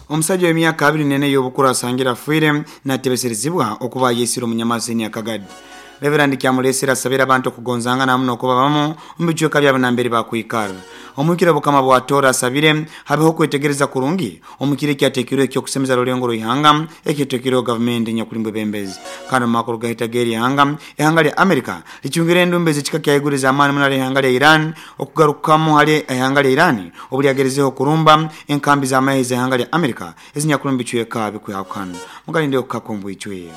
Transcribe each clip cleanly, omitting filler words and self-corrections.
Omusajja w'emyaka 24 ey'obukuru asangire afiire natebeserezibwa okuba ayesire omunyamaseni akagadi. Reverand Kyamulesere asabire abantu okugonzangana hamu n'okuba bamu omu bicweka byabo nambere bakwikara. Omuhikire Bukama bwa Tooro asabire habeho okwetegereza kurungi omu kiro ekyatekirweho eky'okusemeza Rulengo rw'ihanga ekyetekirweho gavumenti enyakuli mubwebembezi. Kandi omu makuru gahita g'erihanga, ihanga lya America licungire endumba ez'ekika kya haiguru ez'amaani muno hali ihanga lya Iran okugarukamu hali ihanga lya Iran obu lyagerezeho okurumba enkambi z'amahe ez'ihanga lya America ezinyakuli omu bicweka bikwehakana. Mugalinde okukaka omu bwijwire.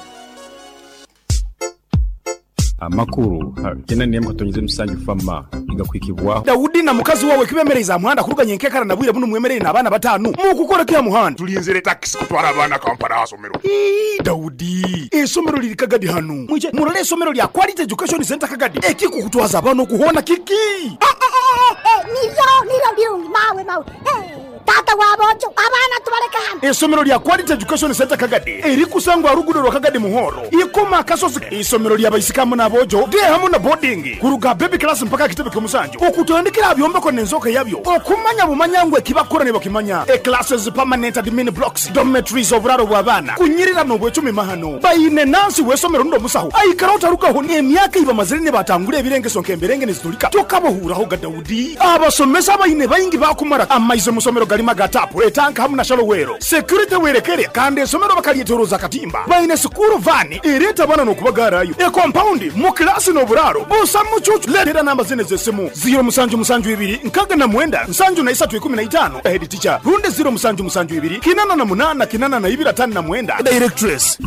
Amakuru kenda n'emu katonyeze musanju fama nigakuhikibwaho. Daudi na mukazi wawe kibemereize aha muhanda kuruga nyenkekara na bwire bunu mwemereire n'abaana batanu mukukora ki aha muhanda? Tulinzire takisi kutwara abaana Kampala aha somero. Ii, Daudi, eisomero liri Kagadi hanu. Mwije murole eisomero lya Quality Education Centre Kagadi. Ekikukutwaza abaana oku hoona kiki? Eh, eh, eh, eh, niryo, niryo birungi, mawe, mawe. Eh, taata w'aboojo, abaana tubaleke hano. Eisomero lya Quality Education Centre Kagadi erikusangwa aha luguudo lwa Kagadi Muhoro, Ikoma Akasozi. Eisomero lya baisiki hamu n'aboojo, day hamu na boarding, kuruga aha baby class mpaka aha kitebe ky'omusanju, okutandikira aha byombeko n'enzooka yabyo, okumanya bumanya ngu ekibakukora nibakimanya. E Classes, permanent admin blocks, dormitories, oburaaro bw'abaana, kunyirira n'obwecumi mahano. Baine nansi w'eisomero rundi omusaho aikara otarugaho n'emyaka ei bamazire nibatangura ebirengeso nk'emberenge nizitulika tokabohuuraho ga Daudi. Abasomesa abaine baingi baakumara amaizi omu somero garimu aga taapu, etanka hamu na shallow well. Security werekere kandi eisomero bakaryetoroza akatimba. Baine sikuuru vaani ereeta abaana n'okubagaarayo. Ekompaundi mu kilaasi n'oburaaro busa mucuucu. Leetera namba zinu ez'esimu, ziiro musanju musanju ibiri nkaaga na mwenda nsanju na isatu ikumi na itaano, Head teacher, rundi ziiro musanju musanju ibiri kinana na munaana kinana na ibiri ataano na mwenda, Directress.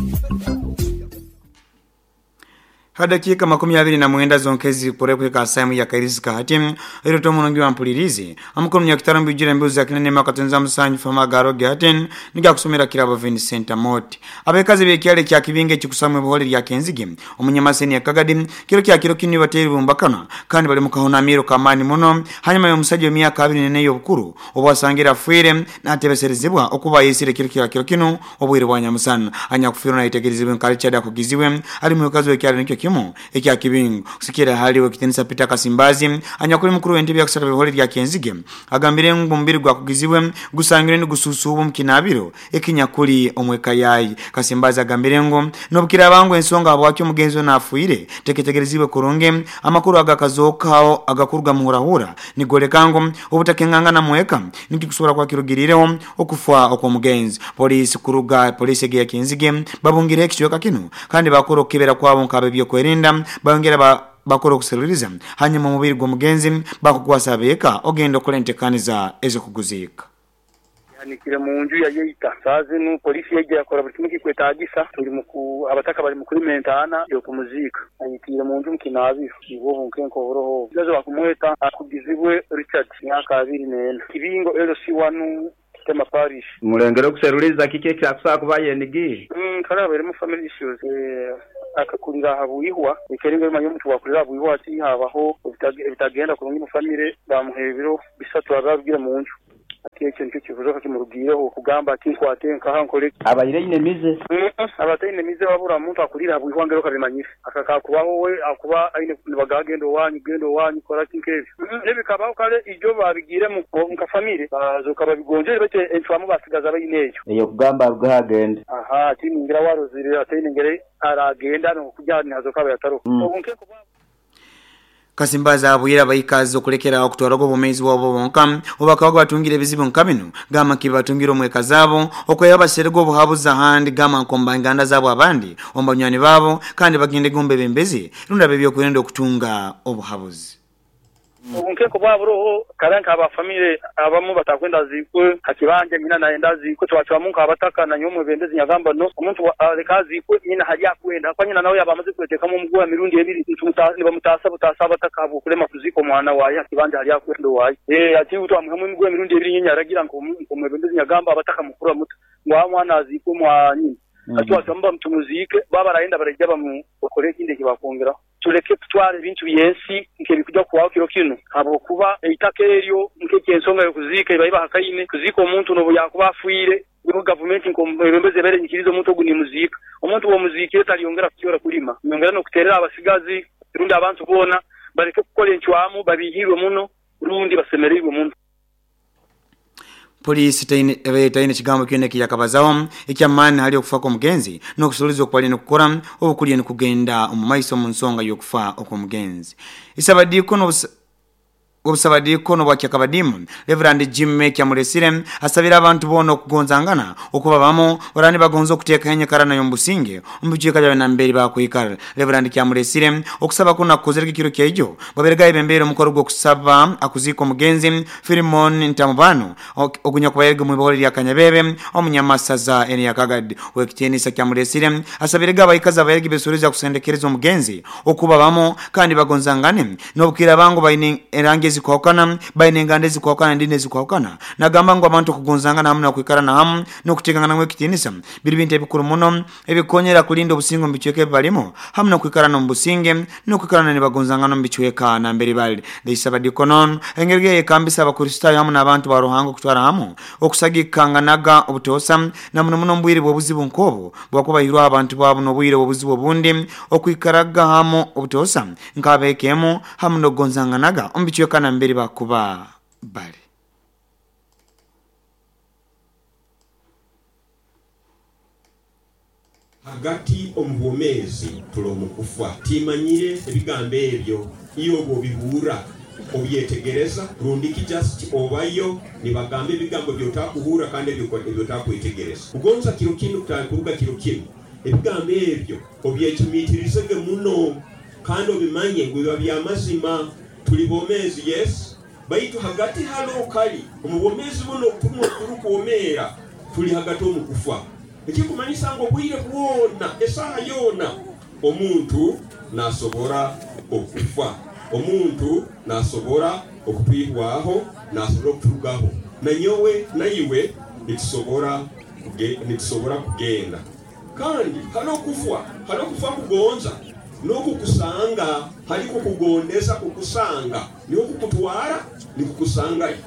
Ha dakiika 29 zonka ezirikukora kuhika aha saaha emwe ya kairizi hati, oirote omurungi wa mpulirizi. Amakuru Munyakitara omu bijwire embuzi za Kinene Mwaka Tonza Musanju Fama Garoge hati nigakusomera Kirabo Vincent Amooti. Abekazi b'ekyaro ekya Kibingo ekikusamwa ebuhore rya Kenzige omu Nyamaseni ya Kagadi kiro kya kiro kinu nibateera ibumbakana kandi bali mu kahunamiro k'amaani muno hanyuma y'omusaija w'emyaka 24 ey'obukuru obu asangire afiire natebeserezibwa okuba ayesire kiro kya kiro kinu obwire bwa nyamusana. Anyakufiirwe nayetegerezibwe nka Richard Akugizibwe ali mukazi w'ekyaro nikyo kimu ekya Kibingo. Kusikira hali ow'ekitinisa Peter Kasimbazi anyakuli mukuru w'entebe ya kusatu b'eihore rya Kenzige agambire ngu omubiri gwa Akugizibwe gusangirwe nigususuubwa omu kinaabiro ekinyakuli omu eka yaye. Kasimbazi agambire ngu n'obukiraaba ngu ensonga habwaki omugenzi onu afiire teketegerezibwe kurungi, amakuru agakazookaho agakuruga muhurahura nigoleka ngu obutakengangana mu eka nikyo kusobora kuba kirugiriireho okufa okw'omugenzi. Poliisi kuruga poliisi egi eya Kenzige babungireho ekicweka kinu kandi bakora okukebera kwabo nk'ab'ebyokwerinda bayongera bakora okuseruliriza hanyuma omubiri gw'omugenzi bakukwasa ab'eka ogenda okora entekaniza ez'okuguziika. Yahanikire mu nju yayeita. Saaha zinu poliisi yaija yakora buli kimu ekikwetagisa. Tuli mu ku abataka bali mu kulima entaana y'okumuziika. Anyitiire mu nju mu kinaabiro. Nibwo obunkenke oburoho obu. Omusigazi bakumweta Akugizibwe Richard, myaka 24, Kibingo LC I, Kitema Parish. Mulengere okuseruliza kiki ekyakusobola kuba yenigiire. Kale habairemu family issues. Akakurira aha bwihwa. Ekeringa omanya omuntu bwakurira aha bwihwa ati habaho ebitagenda kurungi mu family bamuha ebiro bisatu abe arugire munju. Ati ekyo nikyo kibuzo kimurugiireho kugamba ati nkwate nkaha nkore ki. Abaire aine emize? Aba ataine mize wabura omuntu akuriire aha bwihwa ngeri okabimanyire. Aka kakubaho we akuba aine nibagamba genda owanyu, genda owanyu kora ki nk'ebyo. Ebikabaho kare ijo babigiiremu nka famire baazoka babigonjoire baitu encwamu basigaza baine eyo. Ey'okugamba arugeho agende. Ahaa tiningira warozire ataine ngeri aragenda n'okugya nihazoka aba yataroho. Obunkenke bwabo. Kasimbazi abwire abaikazi okulekera agho okutwalaga obwomeezi bwabo bonka obubakabaga batungire ebizibu nka bino gamba nka ebibatungire omu eka zaabo okweha baserege obuhabuzi ahandi gamba nka omu banganda zaabo abandi, omu banywani baabo kandi bagendege omu bebembezi rundi ab'ebyokwerinda okutunga obuhabuzi. Obunkenke obwaburoho kare nka ba famire abamu batakwenda aziikwe ha kibanja nyina nayenda aziikwe twacwamu nk'abataka na nyowe omwebembezi nyagamba no omuntu aleke aziikwe nyina hali akwenda hakuba nyina nawe yaba amaze kwetekamu omuguha emirundi ebiri nibamutaasa butaasa abataka habw'okulema kuziika omwana waye ha kibanja hali akwenda owaye ati twamwihamu emiguha emirundi ebiri nyowe nyaragira nk'omwebembezi nyagamba abataka mukura muta ngu aha omwana aziikwe mwa nyina hati twacwamu tumuziike baba barayenda baraija bakore ekindi eki bakwongeraho. Tuleke kutwara ebintu by'ensi nk'ebirikuja kuhwaho kiro kinu, habwokuba eitaka eryo nk'eky'ensonga y'okuziika eba ebahakaine kuziika omuntu n'obu yaakuba afiire. Nyowe gavumenti nk'omwebembezi ebaire enyikiriize omuntu ogu nimuziika. Omuntu bw'omuziikire talyongera kukyora kulima. Nyongera n'okuteerera abasigazi rundi abantu boona baleke kukora encwamu babiihiirwe muno rundi basemereirwe muno. Polisi taine kigambo kyona ekiyakabazaho ekyamaani hali okufa kw'omugenzi n'okusuuliza okwali nikukora obukulya nikugenda omu maiso omu nsonga y'okufa okw'omugenzi. Isabadiiko obusabadiikono bwa Kyakabadimu Reverend Jimmy Kyamuresire asabira abantu boona okugonzangana okuba bamu orani bagonza okuteeka enyikara nayo omubusinge omu bicweka byabe nambere bakwikara. Reverend Kyamuresire okusaba kuno akukozere ekiro kyaijo bwaberega yebembeire omukoro gw'okusaba akuziika omugenzi Philemon Ntamubano ogunyakubairege mwibaholo lya Kanyabebe omunyamasaza eni ya Kagadi. Owekitiinisa Kyamuresire asabirege abaikazi abairege besoreza kusendekereza omugenzi okuba bamu kandi bagonzangane n'obukira bangu baine erangi ezikwahukana, baine enganda ezikwahukana, endini ezikwahukana. Nagamba ngu abantu okugonzangana hamu n'okwikarana hamu n'okuteekanganamu ekitiinisa biri bintu ebikuru muno ebikonyera kulinda obusinge omu bicweka ebi balimu hamu n'okwikarana omu businge n'okwikarana nibagonzangana omu bicweka nambere bali. Ndaisaba Dikonon engeri eyekambisa Abakristaayo hamu n'abantu ba Ruhanga okutwara hamu okusagikanganaga obutoosa na muno muno omu bwire bw'obuzibu nk'obu bwakuba baihirweho abantu baabo n'obwire bw'obuzibu obundi okwikaraga hamu obutoosa nk'abeeka emu hamu n'okugonzanganaga omu bicweka nambere bakuba bali. Hagati omu bwomeezi tuli omu kufa. Timanyire ebigambo ebyo iwe obwobihurra obyetegereza rundiki just obayo nibagamba ebigambo ebyotakuhurra kandi ebyotakwetegereza. Kugonza kiro kinu kuruga kiro kinu ebigambo ebyo obyecumiitirizege muno kandi obimanye ngu biba byamazima. Tuli bomezi, yes, baitu hagati hali kali omu bwomeezi buno obuturukwomeera tuli hagati omu kufa. Ekikumanyisa ngu obwire bwona, esaaha yoona, omuntu nasobora okufa. Omuntu nasobora okutwihwaho, nasobora okuturugaho. Nanyowe naiwe nitusobora kugenda. Kandi hali okufa, hali okufa kugonza n'okukusanga, hali kukugondeza kukusanga, niho kukutwara nikukusangayo.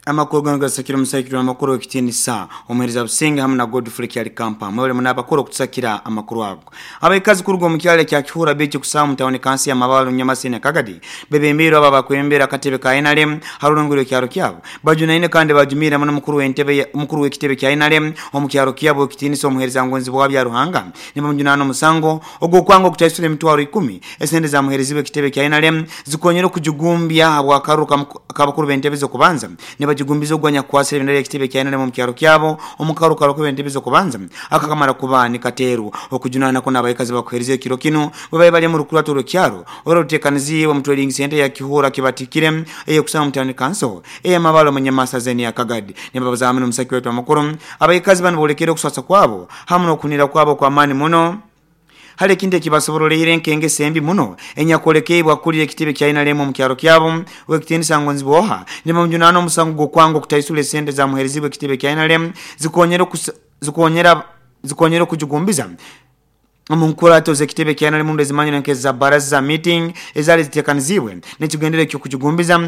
Amakuru ganu gasakira omusaikiri w'amakuru w'ekitiinisa omuheereza Businge hamu na Godfrey Kyalikampa mwebale muno abakuru okutusakira amakuru ago. Abaikazi kuruga omu kyalo ekya Kihura Beach kusaamu mu tawuni kansi ya Mabalo Nyamasini Kagadi bebembeirwe abo abakwembera akatebe ka NRM ha rurengo rw'ekyaro kyabo bajunaine kandi bajumiire muno mukuru w'entebe mukuru w'ekitebe kya NRM omu kyaro kyabo ekitiinisa omuheereza ngonzi bwa bya Ruhanga nibamujunaana omusango ogw'okwanga okutaisura emitwaro 10 esente zamuheerezibwe ekitebe kya NRM zikonyera okujugumbya habw'akaruru k'abakuru b'entebe z'okubanza nibajugumbiza ogwanya kukwasira ebendera y'ekitebe kya NRM omu kyaro kyabo omu karuka abakuru b'entebe z'okubanza akakamara kuba nikateerwa. Okujunaana kuno abaikazi bakuheereza ekiro kinu bwe babaire bali omu rukurato rw'ekyaro oruteekaniziibwe omu trading center ya Kihura kibatikire ey'okusanga omu tawuni kanso ey'Amabalo omu Nyamasaza eni ya Kagadi. Nibabaza hamu n'omusaki waitu amakuru abaikazi banu boolekere okuswasa kwabo hamu n'okunira kwabo okw'amaani muno hali ekintu ekibasoboroleire nk'engeso embi muno enyakwolekebwa akulira ekitebe kya NRM omu kyaro kyabo owekitiinisa Ngonzi Bwoha nibamujunaana omusango gw'okwanga okutaisura esente zamuheerezibwe ekitebe kya NRM zikonyera okujugumbiza omu nkurato z'ekitebe kya NRM ezimanyirwe nk'eza baraza meeting ezaali ziteekaniziibwe n'ekigendero eky'okujugumbiza.